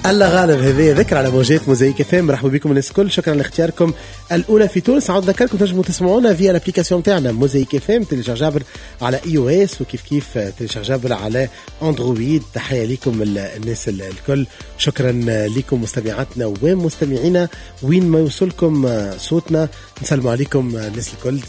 الله غالب. هذه ذكر على موجات موزايك اف ام. مرحبا بكم الناس الكل، شكرا لاختياركم الاولى في تونس. عاود نذكركم تنجموا تسمعونا via l'application تاعنا موزايك اف ام، téléchargeable على iOS وكيف كيف téléchargeable على اندرويد. تحية لكم الناس الكل، شكرا لكم مستمعاتنا ومستمعينا وين ما يوصلكم صوتنا. نسلموا عليكم الناس الكل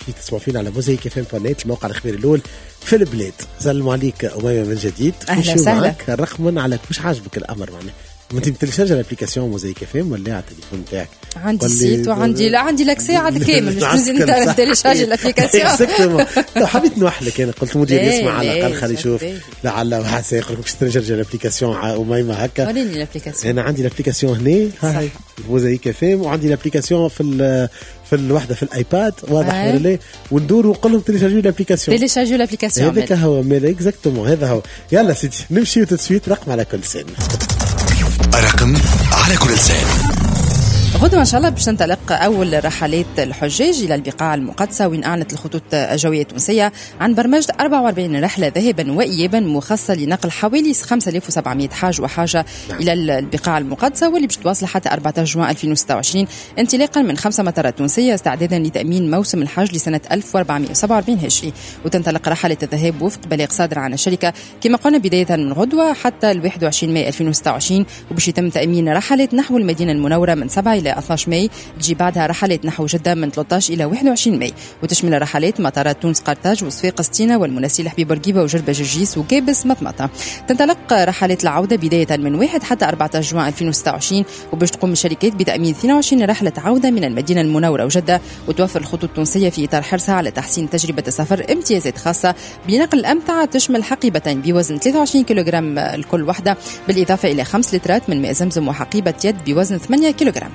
كيف تسمعوا فينا على موزايك اف ام point net، الموقع الخبير الاول في البلاد. سلموا عليك أميمة من جديد. أهلا وسهلا. الرقم على مش عاجبك الأمر معناه انت بتلشارج l'application موزايك اف ام ولا على التليفون تاعك؟ عندي site وعندي لا عندي l'accès على الكامل، مش لازم télécharger l'application. exactement. حبيت نوحلك انا، قلت مدير يسمع على الاقل خلي يشوف لعل وعسى يقول لك باش télécharger l'application أميمة هكا. وريني l'application. انا عندي l'application هنا هاي موزايك اف ام، وعندي l'application في الوحدة في الايباد، واضح ولا لا؟ وندور ونقول لهم télécharger l'application، télécharger l'application. هذاك هو ميل exactement، هذا هو. يلا سيدي نمشي tout de suite رقم على كل لسان. رقم على كل لسان. غدوة إن شاء الله باش تنطلق أول رحلات الحجاج إلى البقاع المقدسة، وين أعلنت الخطوط الجوية التونسية عن برمجة 44 رحلة ذهابا وإيابا مخصصة لنقل حوالي 5700 حاج وحاجة إلى البقاع المقدسة، واللي باش تواصل حتى 14 جوان 2026 انطلاقا من 5 مطارات تونسية استعدادا لتأمين موسم الحج لسنة 1447 هجري. وتنطلق رحلة الذهاب وفق بلاغ صادر عن الشركة كما قلنا بداية من غدوة حتى 21 ماي 2026، وباش يتم تأمين رحلات نحو المدينة المنورة من 7 إلى 12 ماي، تجي بعدها رحلات نحو جدة من 13 إلى 21 ماي، وتشمل رحلات مطارات تونس قرطاج وصفاقس تينا والمناسيل حبيب بورقيبة وجربة جرجيس وكابس مطمطة. تنطلق رحلات العودة بداية من 1 حتى 14 جوان 2026، وباش تقوم الشركات بتأمين 22 رحلة عودة من المدينة المنورة وجدة. وتوفر الخطوط التونسية في إطار حرصها على تحسين تجربة السفر امتيازات خاصة بنقل الأمتعة تشمل حقيبتين بوزن 23 كيلوغرام لكل واحدة، بالإضافة إلى 5 لترات من ماء زمزم وحقيبة يد بوزن 8 كيلوغرام.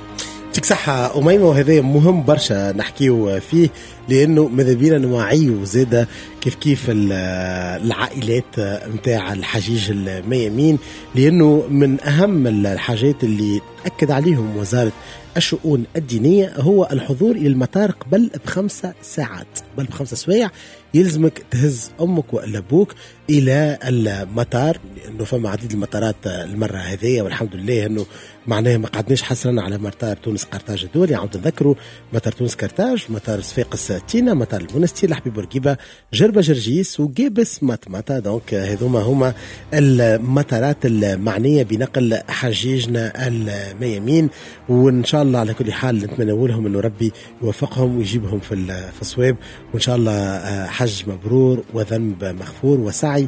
يعطيك صحة أميمة، وهذا مهم برشا نحكيو فيه لأنه ماذا بينا نوعيو زادة كيف كيف العائلات متاع الحجيج الميامين، لأنه من أهم الحاجات اللي تأكد عليهم وزارة الشؤون الدينية هو الحضور إلى المطار قبل ب5 ساعات، قبل ب5 سوايع يلزمك تهز أمك ولا أبوك إلى المطار، لأنه فما عديد المطارات المرة هذه والحمد لله أنه معناها ما قعدناش حصرا على مطار تونس قرطاج الدولي. عاود نذكروا مطار تونس قرطاج، مطار صفاقس تينا، مطار المنستير حبيب بورقيبة، جربة جرجيس وقابس مطمطة. donc هذوما هما المطارات المعنية بنقل حجيجنا الميامين، وإن شاء الله على كل حال نتمنى لهم أنه ربي يوفقهم ويجيبهم في الصواب، وإن شاء الله حج مبرور وذنب مغفور وسعي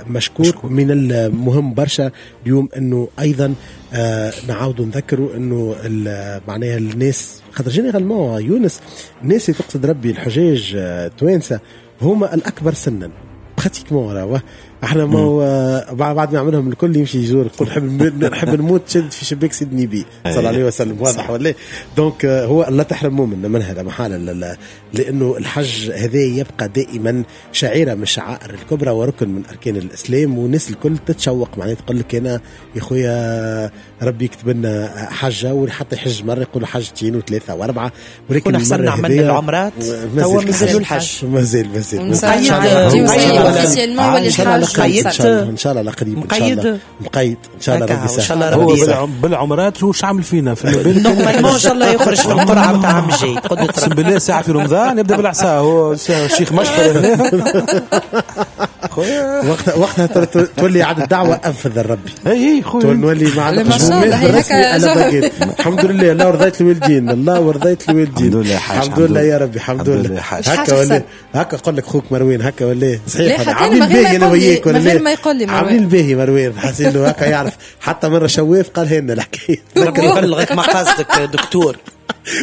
مشكور. من المهم برشا اليوم أنه أيضا نعاود نذكروا أنه معناها الناس خاطر généralement يونس الناس اللي تقصد ربي الحجاج توانسة هما الأكبر سنا pratiquement. راهو احنا ما بعد ما عملهم الكل يمشي يزور يقول نحب نموت شد في شباك سيدنا النبي صلى الله عليه وسلم، واضح ولا؟ donc هو الله تحرموا من هذا محالة، لانه الحج هذا يبقى دائما شعيرة من الشعائر الكبرى وركن من اركان الاسلام، والناس الكل تتشوق معناها تقول لك انا يا خويا ربي يكتب لنا حجه، وحتى يحج مرة يقولوا حجتين وثلاثة واربعة، ولكن احسن عملنا العمرات توا مازالوا الحج مازال ان شاء الله قريب ان شاء الله مقيد ان شاء الله ربي يسهل. هو بالعمرات وش عامل فينا في normalement ان شاء الله يخرج في القرعة نتاع عام الجاي. اقسم بالله ساعة في رمضان يبدا بالعصا هو الشيخ مشفر هنا خويا وقتها تولي عاد الدعوة انفذ الربي. اي خويا نولي مع الحمد لله الله ورضيت الوالدين، الله ورضيت الوالدين، الحمد لله يا ربي الحمد لله. هكا ولا هكا نقول لك خوك مروان هكا ولا صحيح عاملين باهي انا وياك ولا غير ما يقول لي عاملين باهي مروان حاسين له هكا يعرف حتى مرة شواف قال لنا الحكاية. ربي يبلغك مقاصدك دكتور.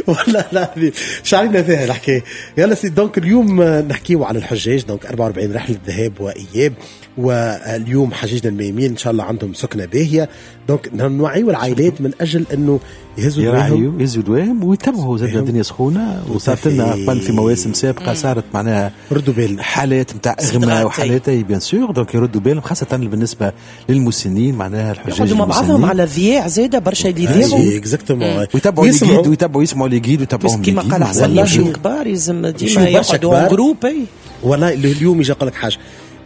والله العظيم شعرنا فيها الحكاية. يلا سيدي donc اليوم نحكيو على الحجاج، donc 44 رحله ذهاب واياب، واليوم حجاجنا الميامين ان شاء الله عندهم سكنه باهيه. donc نوعيو العائلات من اجل انه يهزوا دواهم، يهزوا دواهم ويتبعوا زاد الدنيا سخونة، وصارت لنا قبل في مواسم سابقه صارت معناها ردوا بالنا حالات نتاع اغماء وحالات bien sûr. donc يردوا بالهم خاصة بالنسبة للمسنين معناها الحجاج يقعدوا مع بعضهم على ذياع زاده برشا اللي يذيعوا exactement ويتبعوا les guides ويتبعوا يسمعوا les guides ويتبعوهم كيما قال حسن يمشيو كبار يلزم ديما يقعدوا groupe. والله اليوم يجي يقول لك حاجة،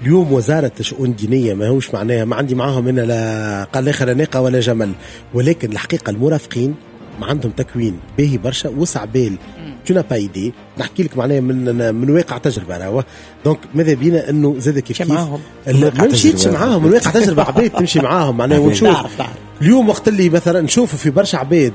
اليوم وزارة الشؤون الدينية ماهوش معناها ما عندي معاهم انا لا قال لا ناقة ولا جمل، ولكن الحقيقة المرافقين ما عندهم تكوين باهي برشا وسع بال tu n'as pas idée. نحكي لك معناها من واقع تجربه راهو. donc ماذا بينا انه زاد كيف كيف ما مشيتش معاهم من واقع تجربه عباد تمشي معاهم معناها ونشوف اليوم وقت اللي مثلا نشوفوا في برشا عباد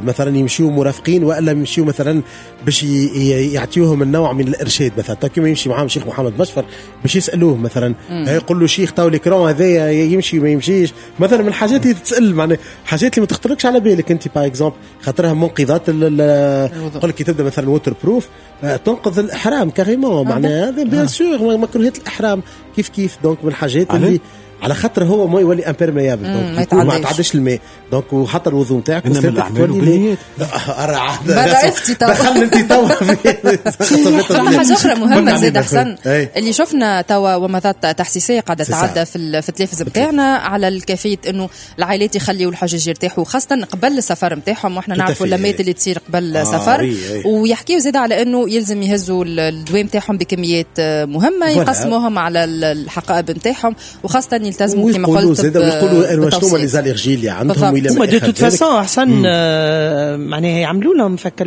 مثلا يمشيوا مرافقين والا يمشيوا مثلا باش يعطيوهم النوع من الارشاد، مثلا كيما يمشي معاهم شيخ محمد مشفر باش يسالوه مثلا يقول له شيخ تو l'écran هذايا يمشي ما يمشيش، مثلا من الحاجات اللي تتسال معناها حاجات اللي ما تخطركش على بالك انت par exemple، خاطرها منقذات يقول لك تبدا مثلا waterproof تنقذ الاحرام carrément معناها هذا bien sûr مكروهات الاحرام كيف كيف. donc من الحاجات اللي على خاطر هو ما يولي imperméable، donc ما تعدش الماء، donc وحتى الوضوء نتاعك تولي دخلنا انت توا حاجة اخرى مهمة زاد احسن اللي شفنا توا ومضات تحسيسيه قاعدة تعدى في التلفز بتاعنا على الكيفية انه العائلات يخليوا الحجاج يرتاحوا خاصة قبل السفر نتاعهم، واحنا نعرفوا اللمات اللي تصير قبل السفر، ويحكيوا زاد على انه يلزم يهزوا الدواء نتاعهم بكميات مهمة يقسموهم على الحقائب نتاعهم، وخاصة يلتزموا كما قلت زاد ويقولوا شنو هما les allergies اللي عندهم ولا ما de toute façon احسن معناها يعملوا لهم فك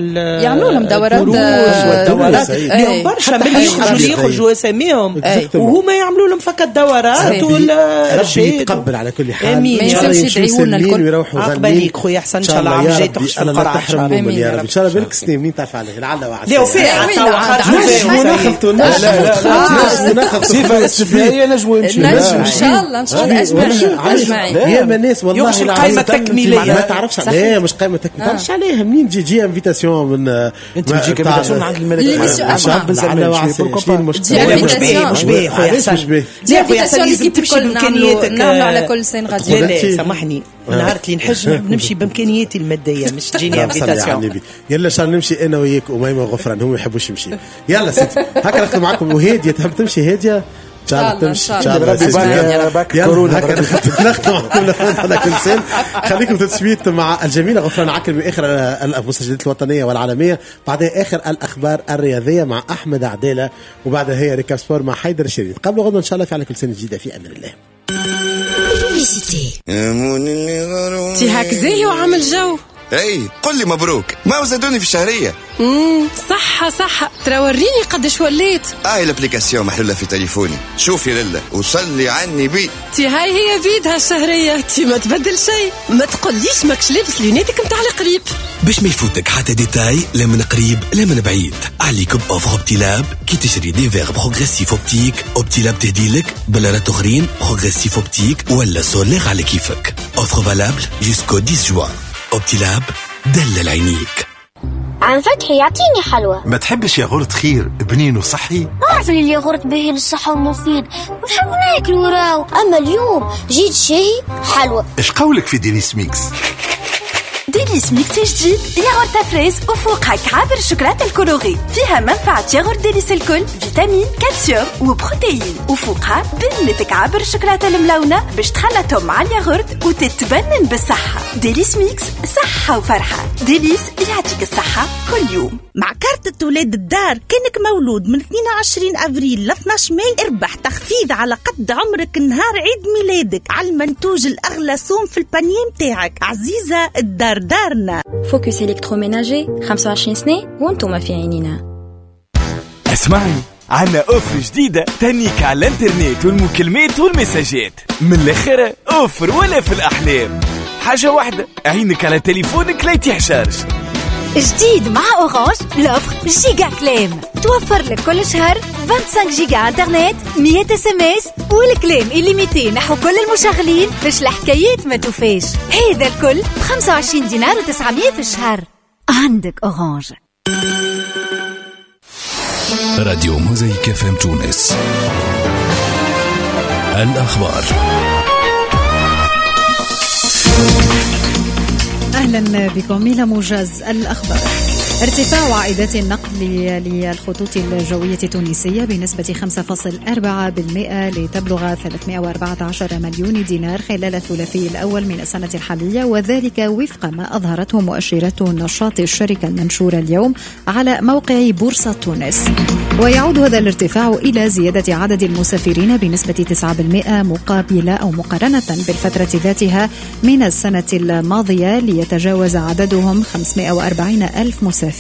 يعملوا لهم دورات والدورات اليوم برشا من يخرجوا اساميهم وهما يعملوا لهم فك الدورات ولا ربي يتقبل على كل حال. امين ان شاء الله يمشيو الكل ويروحوا غانمين. خويا احسن ان شاء الله عام جاي تخش في القرعة امين يا رب ان شاء الله. بالك سنين منين تعرف عليه لعل وعسى لا وفاء صفة استثنائية نجموا يمشيو ان شاء الله ان شاء الله اجمعين يا ما الناس والله القائمة التكميليه ما تعرفش عليها، مش قائمة تكميليه ما تعرفش عليها منين تجي invitation من انت تجيك invitation من عند الملك مش باهي مش باهي خويا حسن، لا خويا حسن لازم تمشي بامكانياتك. نعملوا على كل سن غادي. لا سامحني نهار اللي نحج نمشي بامكانياتي المادية مش تجيني invitation. يلا شان نمشي انا وياك اميمة وغفران، هم ما يحبوش يمشي. يلا ستي هكا نختم معكم. وهاديه تحب تمشي هادية ان شاء الله تمشي ان شاء الله. كورونا هكا نختم معكم على كل سن. خليكم تتسويت مع الجميلة غفران عكرمي باخر المستجدات الوطنية والعالمية، بعدها اخر الاخبار الرياضية مع احمد عدالة، وبعدها هي récap sport مع حيدر الشريف. قبل غدا ان شاء الله في على كل سنة جديدة في امان الله. تي هاك زاهي وعامل جو. اي قل لي مبروك ما وزادوني في الشهرية. صحة صحة ترى وريني قداش وليت. هاي l'application محلولة في تليفوني، شوفي لله وصلي عني بي. تي هاي هي بيدها الشهرية، تي ما تبدل شيء. ما تقوليش ماكش لابس لوناتك نتاع القريب باش ما يفوتك حتى détail لا من قريب لا من بعيد. عليك ب offre Optilab كي تشري des verres progressifs optiques Optilab تهديلك بلارات اخرين progressifs optiques ولا solaires على كيفك. offre valable jusqu'au 10 juin. Optilab دلل عينيك. عم فتحي يعطيني حلوى. ما تحبش ياغورت خير بنين وصحي؟ أعرف اللي الياغورت باهي للصحة ومفيد ونحب ناكل وراو، أما اليوم جيت شاهي حلوى. إيش قولك في Délice Mix؟ Délice Mix جديد ياغورت fraise وفوقها كعابر الشوكولاتة ال colorée، فيها منفعه ياغورت Délice الكل، vitamines calcium و protéines، وفوقها بنة كعابر الشوكولاتة الملونة باش تخلطهم مع الياغورت وتتبنن بالصحة. Délice Mix صحة وفرحه. Délice يعطيك الصحة كل يوم. مع كارت ولاد الدار كانك مولود من 22 افريل ل 12 ماي اربح تخفيض على قد عمرك نهار عيد ميلادك على المنتوج الاغلى سوم في ال panier متاعك. عزيزه الدار دارنا. Focus électroménager 25 سنة وانتم في عينينا. اسمعني، عنا offre جديدة تهنيك على الانترنت والمكالمات والمساجات. من الاخر offre ولا في الاحلام. حاجة واحدة، عينك على تليفونك لا يتيح charge. جديد مع Orange l'offre Giga كلام توفر لك كل شهر 25 جيجا انترنت، 100 SMS والكلام illimité نحو كل المشغلين باش الحكايات ما توفاش. هذا الكل ب 25 دينار و900 في الشهر. عندك Orange. راديو موزايك FM تونس. الأخبار. أهلا بكم إلى موجز الأخبار. ارتفاع عائدات النقل للخطوط الجوية التونسية بنسبة 5.4% لتبلغ 314 مليون دينار خلال الثلاثي الأول من السنة الحالية، وذلك وفق ما أظهرته مؤشرات نشاط الشركة المنشورة اليوم على موقع بورصة تونس. ويعود هذا الارتفاع إلى زيادة عدد المسافرين بنسبة 9% مقابلة أو مقارنة بالفترة ذاتها من السنة الماضية ليتجاوز عددهم 540 ألف مسافر.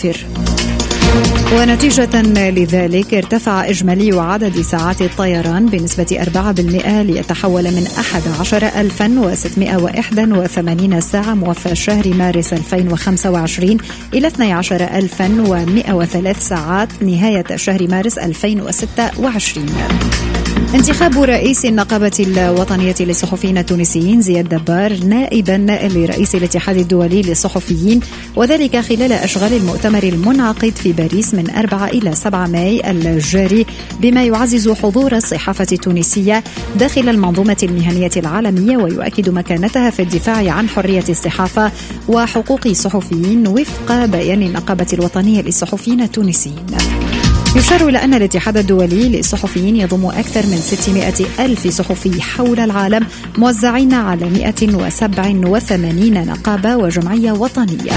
ونتيجة لذلك ارتفع إجمالي عدد ساعات الطيران بنسبة 4% ليتحول من 11681 ساعة موفى شهر مارس 2025 إلى 12103 ساعات نهاية شهر مارس 2026. انتخاب رئيس النقابة الوطنية للصحفيين التونسيين زياد دبار نائبا لرئيس الاتحاد الدولي للصحفيين، وذلك خلال أشغال المؤتمر المنعقد في باريس من 4 إلى 7 ماي الجاري، بما يعزز حضور الصحافة التونسية داخل المنظومة المهنية العالمية ويؤكد مكانتها في الدفاع عن حرية الصحافة وحقوق الصحفيين وفق بيان النقابة الوطنية للصحفيين التونسيين. يشار إلى أن الاتحاد الدولي للصحفيين يضم أكثر من 600 ألف صحفي حول العالم موزعين على 187 نقابة وجمعية وطنية.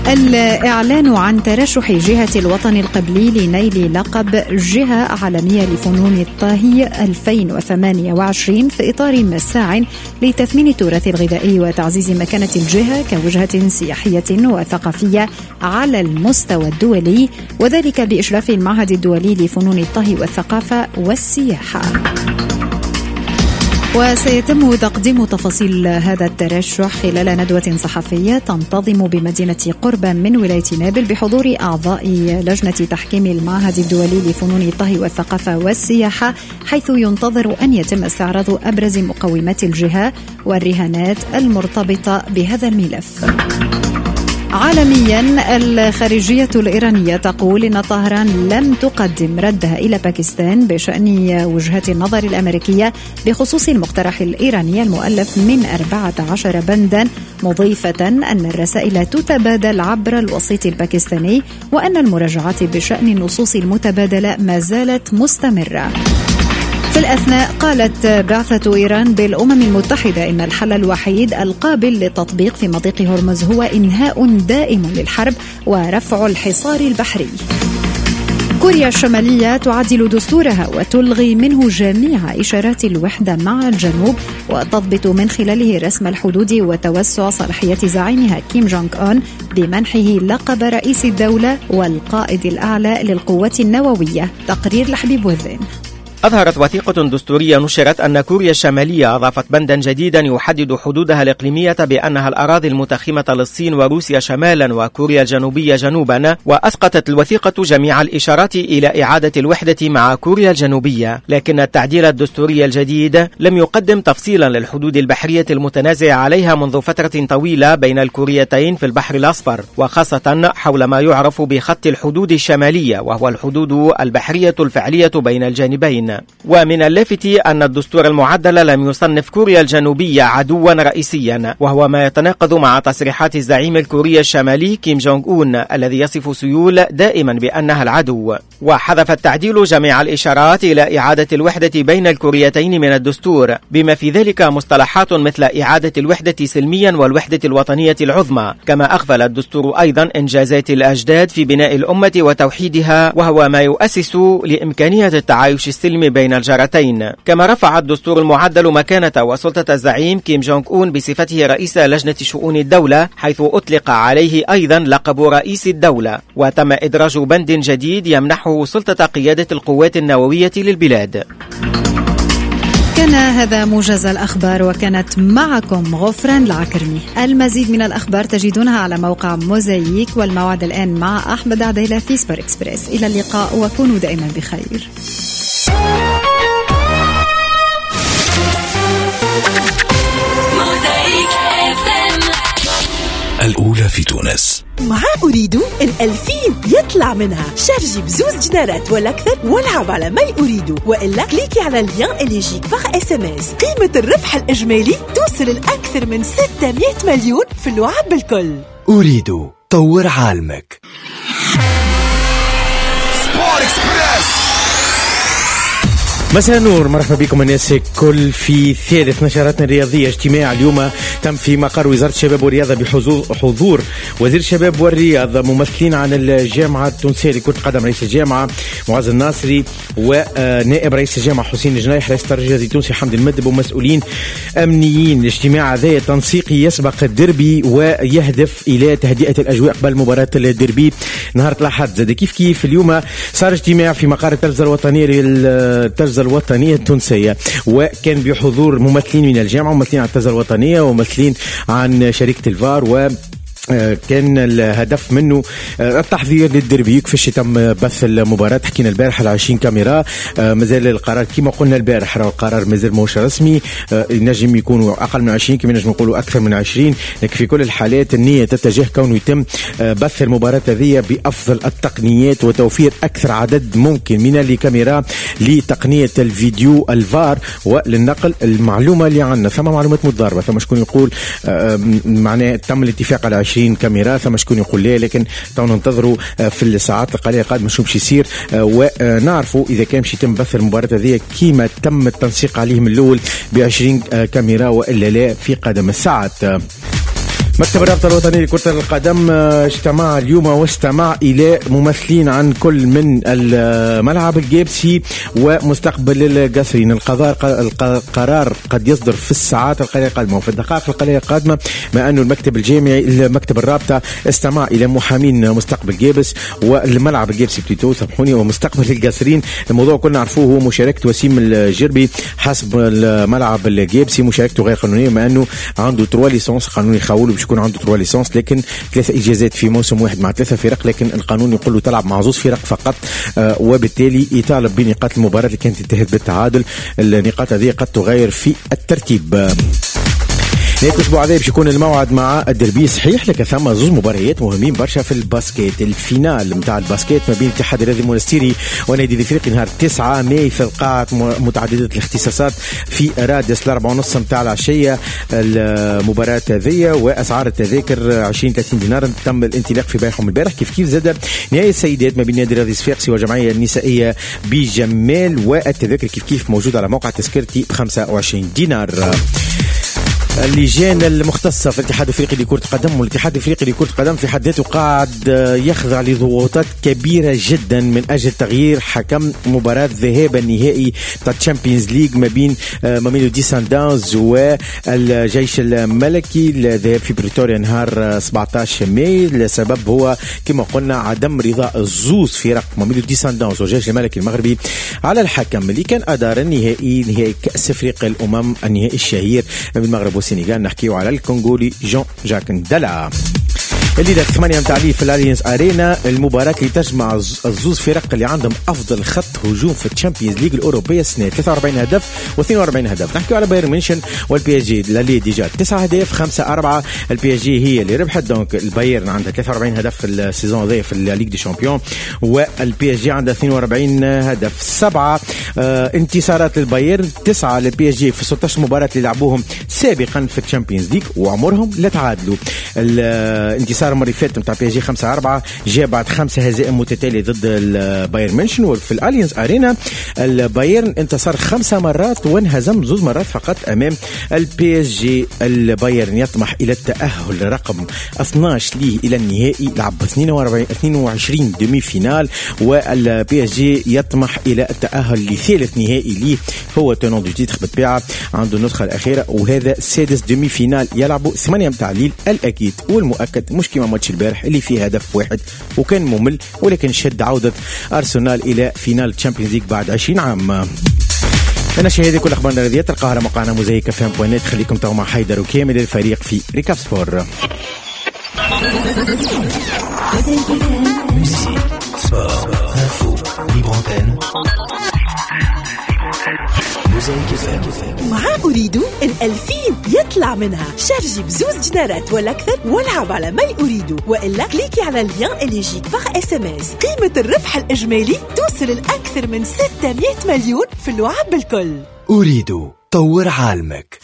الإعلان عن ترشح جهة الوطن القبلي لنيل لقب جهة عالمية لفنون الطهي 2028 في إطار مساع لتثمين التراث الغذائي وتعزيز مكانة الجهة كوجهة سياحية وثقافية على المستوى الدولي، وذلك بإشراف المعهد الدولي لفنون الطهي والثقافة والسياحة. وسيتم تقديم تفاصيل هذا الترشح خلال ندوة صحفية تنتظم بمدينة قربة من ولاية نابل بحضور أعضاء لجنة تحكيم المعهد الدولي لفنون الطهي والثقافة والسياحة، حيث ينتظر أن يتم استعراض أبرز مقومات الجهة والرهانات المرتبطة بهذا الملف. عالميا، الخارجية الإيرانية تقول إن طهران لم تقدم ردها إلى باكستان بشأن وجهة النظر الأمريكية بخصوص المقترح الإيراني المؤلف من 14 بندا، مضيفة أن الرسائل تتبادل عبر الوسيط الباكستاني وأن المراجعات بشأن النصوص المتبادلة ما زالت مستمرة. في الأثناء قالت بعثة إيران بالأمم المتحدة إن الحل الوحيد القابل للتطبيق في مضيق هرمز هو إنهاء دائم للحرب ورفع الحصار البحري. كوريا الشمالية تعدل دستورها وتلغي منه جميع إشارات الوحدة مع الجنوب وتضبط من خلاله رسم الحدود وتوسع صلاحية زعيمها كيم جونغ أون بمنحه لقب رئيس الدولة والقائد الأعلى للقوات النووية. تقرير لحبيب وذين. أظهرت وثيقة دستورية نشرت أن كوريا الشمالية أضافت بندا جديدا يحدد حدودها الإقليمية بأنها الأراضي المتخمة للصين وروسيا شمالا وكوريا الجنوبية جنوبا، وأسقطت الوثيقة جميع الإشارات إلى إعادة الوحدة مع كوريا الجنوبية. لكن التعديل الدستوري الجديد لم يقدم تفصيلا للحدود البحرية المتنازع عليها منذ فترة طويلة بين الكوريتين في البحر الأصفر، وخاصة حول ما يعرف بخط الحدود الشمالية، وهو الحدود البحرية الفعلية بين الجانبين. ومن اللافت أن الدستور المعدل لم يصنف كوريا الجنوبية عدوا رئيسيا، وهو ما يتناقض مع تصريحات الزعيم الكوري الشمالي كيم جونغ أون الذي يصف سيول دائما بأنها العدو. وحذف التعديل جميع الإشارات إلى إعادة الوحدة بين الكوريتين من الدستور، بما في ذلك مصطلحات مثل إعادة الوحدة سلميا والوحدة الوطنية العظمى. كما أغفل الدستور أيضا إنجازات الأجداد في بناء الأمة وتوحيدها، وهو ما يؤسس لإمكانية التعايش السلمي بين الجارتين. كما رفع الدستور المعدل مكانة وسلطة الزعيم كيم جونغ أون بصفته رئيس لجنة شؤون الدولة، حيث أطلق عليه أيضا لقب رئيس الدولة، وتم إدراج بند جديد يمنحه سلطة قيادة القوات النووية للبلاد. كان هذا موجز الأخبار، وكانت معكم غفران العكرمي. المزيد من الأخبار تجدونها على موقع موزايك، والموعد الآن مع أحمد عديلة في سبور إكسبريس. إلى اللقاء وكونوا دائما بخير. الأولى في تونس مع أوريدو 2000 يطلع منها. شارجي بزوز دينارات ولا أكثر والعب على My Ooredoo، وإلا كليكي على ال lien اللي يجيك par SMS. قيمة الربح الإجمالي توصل لأكثر من 600 مليون في اللعب بالكل. أوريدو طور عالمك. Sport Express. مساء النور، مرحبا بكم الناس الكل في ثالث نشراتنا الرياضية. اجتماع اليوم تم في مقر وزارة الشباب والرياضة بحضور وزير الشباب والرياضة، ممثلين عن الجامعة التونسية لكرة القدم رئيس الجامعة معز الناصري ونائب رئيس الجامعة حسين الجنايح، رئيس الترجي التونسي حمدي المدب، ومسؤولين أمنيين. الاجتماع هذا تنسيقي يسبق الديربي ويهدف إلى تهدئة الأجواء قبل مباراة الديربي نهار الأحد. زاد كيف كيف اليوم صار اجتماع في مقر التلفزة الوطنية للتلفزة الوطنية التونسية، وكان بحضور ممثلين من الجامعة وممثلين عن التلفزة الوطنية وممثلين عن شركة الفار، و كان الهدف منه التحضير للديربي كيفاش تم بث المباراة. حكينا البارح على 20 كاميرا، مازال القرار كما قلنا البارح، راه القرار مازال ماهوش رسمي، ينجم يكونوا أقل من 20 كما نجم نقولوا أكثر من 20، لكن في كل الحالات النية تتجه كونه يتم بث المباراة هذه بأفضل التقنيات وتوفير أكثر عدد ممكن من الكاميرا لتقنية الفيديو الفار وللنقل. المعلومة اللي عندنا ثم معلومات متضاربة، ثم شكون يقول معناه تم الاتفاق على 20 كاميرا، ثم شكون يقول لا، لكن تو ننتظروا في الساعات القليلة القادمة شو باش يصير ونعرفوا اذا كان باش يتم بث المباراة هذه كيما تم التنسيق عليه من الاول ب 20 كاميرا والا لا في قدم الساعات. مكتب الرابطة الوطنية لكرة القدم اجتمع اليوم واستمع إلى ممثلين عن كل من الملعب الجابسي ومستقبل القصرين. القرار قد يصدر في الساعات القليلة القادمة وفي الدقائق القليلة القادمة، مع أنه المكتب الجامعي مكتب الرابطة استمع إلى محامين مستقبل جابس والملعب الجابسي plutôt سامحوني ومستقبل القصرين. الموضوع كلنا نعرفوه هو مشاركة وسيم الجربي حسب الملعب الجابسي، مشاركته غير قانونية مع أنه عنده 3 licences قانوني يخوله باش يكون عنده 3 licences، لكن 3 اجازات في موسم واحد مع 3 فرق، لكن القانون يقول له تلعب مع 2 فرق فقط، وبالتالي يطالب بنقاط المباراة اللي كانت انتهت بالتعادل. النقاط هذه قد تغير في الترتيب. نهاية الأسبوع هذا باش يكون الموعد مع الدربي صحيح، لكن ثم زوج مباريات مهمين برشا في ال basket. ال finale نتاع ال basket ما بين الاتحاد الرياضي المونستيري ونادي الافريقي نهار 9 ماي في القاعة متعددة الاختصاصات في رادس 4:30 نتاع العشية المباراة هذية، وأسعار التذاكر 20-30 دينار. تم الانطلاق في بيعهم البارح. كيف كيف زاد نهائي السيدات ما بين نادي الرياضي الصفاقسي والجمعية النسائية بجمال، والتذاكر كيف كيف موجودة على موقع تذكرتي ب 25 دينار. اللجان المختصة في الاتحاد الافريقي لكرة القدم، والاتحاد الافريقي لكرة القدم في حد ذاته قاعد يخضع لضغوطات كبيرة جدا من أجل تغيير حكم مباراة ذهاب النهائي تاع Champions League ما بين ماميلودي سانداونز والجيش الملكي، الذهاب في بريتوريا نهار 17 ماي. السبب هو كما قلنا عدم رضا الزوز فرق ماميلودي سانداونز والجيش الملكي المغربي على الحكم اللي كان أدار النهائي، نهائي كأس افريقيا الأمم، النهائي الشهير بالمغرب والسنغال. نحكيو على الكونغولي جون جاك ندلا. الليلة 8 متاع الليل في الاليانز ارينا، المباراة اللي تجمع الزوز فرق اللي عندهم افضل خط هجوم في ال Champions League الاوروبية السنة، 43 هدف و42 هدف. نحكيو على بايرن ميونشن وال PSG، l'aller déjà 9 اهداف 5-4، ال PSG هي اللي ربحت. donc البايرن عندها 43 هدف في ال saison هذا في ال Ligue des Champions، وال PSG عندها 42 هدف. 7 انتصارات للبايرن، 9 لل PSG في 16 مباراة اللي لعبوهم سابقا في ال Champions League وعمرهم لا تعادلوا. الانتصار المرة اللي فاتت نتاع PSG 5-4 جاء بعد 5 هزائم متتالية ضد البايرن ميونشن. وفي الاليانز ارينا البايرن انتصر 5 مرات وانهزم 2 مرات فقط امام ال PSG. البايرن يطمح الى التأهل رقم 12 ليه الى النهائي، لعب 22 demi-finale، وال PSG يطمح الى التأهل لثالث نهائي ليه هو tenant du titre بالطبيعة، عنده النسخة الأخيرة، وهذا سادس demi-finale يلعبوا 8 متاع الليل. الأكيد والمؤكد مش كيما ماتش البارح اللي فيه هدف واحد وكان ممل، ولكن شد عودة أرسنال إلى finale Champions League بعد 20 عام. أنا شاهدي كل أخبارنا الرياضية تلقاها على موقعنا موزايك FM point net. خليكم تو مع حيدر وكامل الفريق في Récap Sport. مع أريدو 2000 يطلع منها، شارجي بزوز دينارات ولا أكثر والعب على My Ooredoo، وإلا كليكي على ال lien اللي يجيك par SMS. قيمة الربح الإجمالي توصل لأكثر من 600 مليون في اللعب بالكل. أريدو طور عالمك.